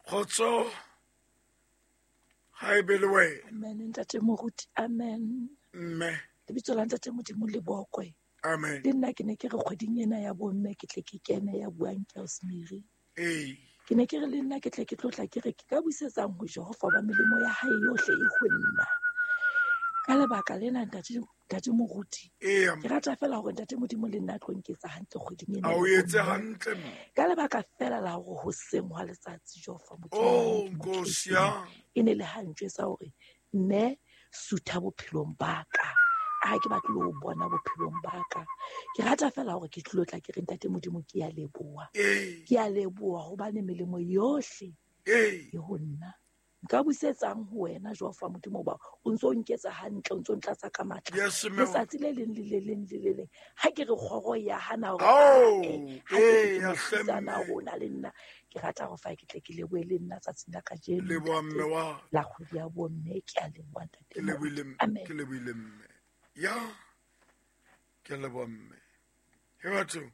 Kgotso ga e be le wena. Amen ntate moruti, amen. Mme. Lebitso la ntate Modimo le bokwe. Amen. Le nna ke ne ke re kgweding ena ya bomme ke tle ke kene ya buang ke Rosemary. Ee. Ke ne ke re le nna ke tle ke tlotla ke re ke ka busetsang ho Jehova ba melemo ya hae yohle e ho nna. Ka lebaka lena ntate ntate moruti. Ee. Ke rata fela hore ntate Modimo le nna a tlo nketsa hantle kgweding ena. A o etse hantle mme. Ka lebaka fela la hore hoseng hwa letsatsi Jehova Modimo. Oh, Nkosi ya. E ne le ha ntjwetsa hore mme sutha bophelong ba ka. A ke batle ho bona bophelong ba ka. Ke rata fela hore ke tlilo tla ke re ntate Modimo ke ya leboha. Ee. Ke ya leboha hobane melemo yohle Ee. e ho nna. Nka busetsang ho wena Jehova Modimo ba o ntso nketsa hantle, o ntso ntlatsa ka matla. Yes, mme. Letsatsi le leng le le leng le le leng. Ha ke re kgoro ya hana hore Ao, ha ke re ee, ke ya mofutsana hle, mme. rona le nna. Ke rata hore fa ke tle ke lebohe le nna tsatsing la kajeno. Leboha mme wa. La kgwedi ya bomme, ke a leboha ntate. Ke lebohile mme. Amen. Ke lebohile mme. Ya. Ke a leboha mme. He batho.